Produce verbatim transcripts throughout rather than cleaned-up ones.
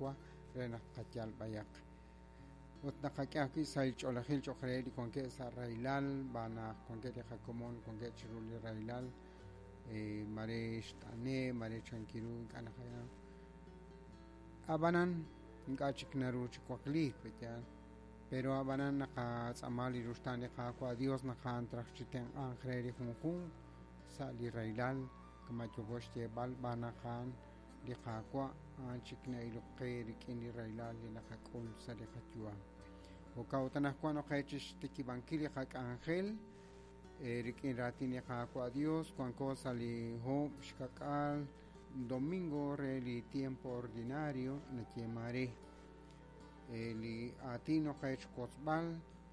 Qaawa' re naq tqayal b'ayaq. Ut naqak'e ajwi' sahil ch'oolejil cho'q reheb' li wankeb' sa' rahilal, b'aan naq wankeb' li qakomon wankeb' chiru li rahilal, mare xt'ane', mare chankiru ink'a' naqanaw. Ab'anan ink'a' chik naru chi wakliik, pe'yaal. Pero ab'anan naqatz'aama li ruxtaan li Qaawa' Dios naq a'an traj chi tenq'anq re li junjunq sa' li rahilal kama' yooko xyeeb'al b'aan naq a'an li Qaawa' a'an chik na'ilok qe rik'in li rahilal li naqak'ul sa' li qayu'am. Jo'kan ut anaqwan noqe chi xtikib'ankil li qak'anjel rik'in raatin li Qaawa' Dios wanko sa' li oob' xka'k'aal domingo re li tiempo ordinario nayeeman re li aatin noqe xwotzb'al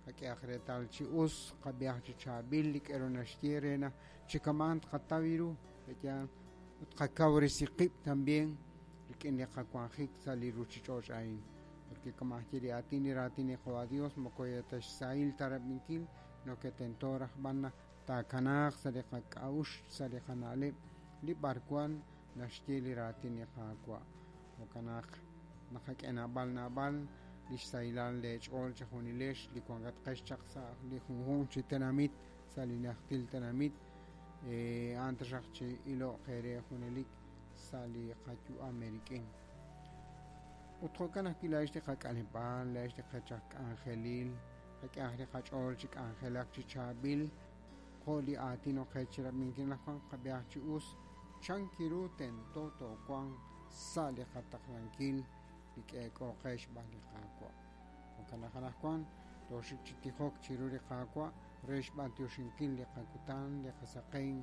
qak'ehaq reetal chi us qab'ihaq chi chaab'il li k'aru naxye re naq chi kama'an tqataw ru pe'yaal ut qakawresi qib' también rik'in li qawanjik sa' li ruuchich'och' a'in. Porque kama' xye li aatin li raatin li Qaawa' Dios moko ta xsahil ta rab'inkil no que tento raj b'an naq taakanaaq sa' li qak'a'uxl sa' li qana'leb' li b'arwan naxye li raatin li Qaawa'. Jo'kan naq naqak'e naab'al naab'al li xsahilal leech'ool chejunilex li wankatqex chaq sa' li junjunq chi tenamit sa' li najtil tenamit a'an taxaq chi ilo'q eere junelik sa' li qayu'am eerik'in. Ut jo'kan ajwi' laa'ex li qak'aleb'aal, laa'ex li qech aj k'anjelil, qak'ehaq li qach'ool chi k'anjelak chi chaab'il jo' li aatin oqe chi rab'inkil naq wan qab'ihaq chi us chankiru tento toowanq sa' li qataqlankil li k'eek'o qe xb'aan li Qaawa'. Jo'kan naq anaqwan tooxik chi tijok chiru li Qaawa' re xb'antioxinkil li qakutan, li qasaqen,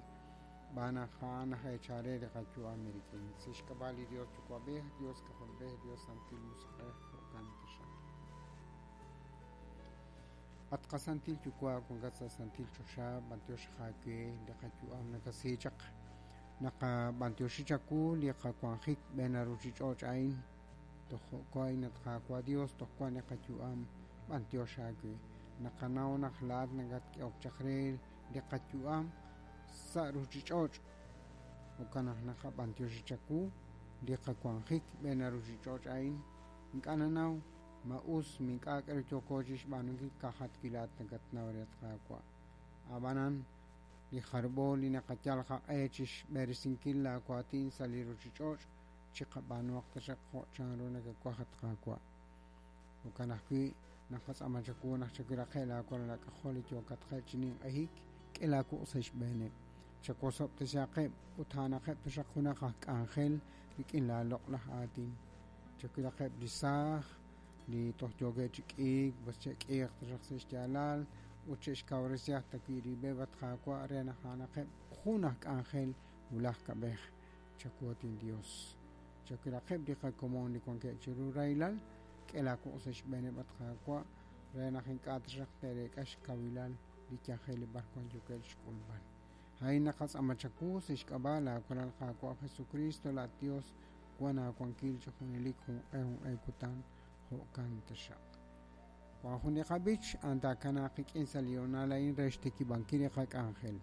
b'aan naq a'an aj eechal re li qayu'am eerik'in. Sa' xk'ab'a' li Dios Yuwa'b'ej, Dios K'ajolb'ej, Dios Santil Musiq'ej, jo'kan taxaq. At qasantil Yuwa' wankat sa' santil choxa, b'antiox aawe li qayu'am nakasi chaq naqab'antioxi chawu li qawanjik b'een ruuchich'och' a'in toj jo'kan at Qaawa' Dios toj wan li qayu'am b'antiox aawe. Naqanaw naq laa'at nakatk'ehok chaq re li qayu'am sa' ruuchich'och'. Jo'kan naq naqab'antioxi chawu li qawanjik b'een ruuchich'och' a'in ink'a' nanaw ma us ma ink'a' k'aru yooko chi xb'aanunkil ka'ajat wi' laa'at nakatnaw re at Qaawa'. Ab'anan li jarb'o li naqayal qaq'e chi xb'eresinkil laawaatin sa' li ruuchich'och' chiqab'aanuhaq taxaq jo' chanru nakawaj at Qaawa'. Jo'kan ajwi' naqatz'aama chawu naq chawilaqeb' laawalal aak'ajol li yookatqeb' chi ninq'ehik k'e laawuq' sa' xb'eeneb'. Chawosob'tesihaqeb' ut a'anaqeb' taxaq junaq aj k'anjel rik'in laaloq'laj aatin. Chawilaqeb' li saaj li toj yookeb' chi k'iik, b'as che'k'iiq taxaq sa' xyaalal ut che'xkawresihaq ta wi' rib'eb' at Qaawa' re naq a'anaqeb' jun aj k'anjel wulaj kab'ej. Chawu at Dios. Chawilaqeb' li qakomon li wankeb' chiru rahilal, k'e laawuq' sa' xb'eeneb' at Qaawa' re naq ink'a' taxaq te'reek'a xkawilal li yajel li b'arwan yookeb' xk'ulb'al. A'in naqatz'aama chawu sa' xk'ab'a' laawalal Qaawa' Jesucristo laat Dios wan aawankil chi junelik junq'e junq'e kutan jo'kan taxaq. Wan jun li qab'ich a'an taakanaaq qik'in sa' li hoonal a'in re xtikib'ankil li qak'anjel.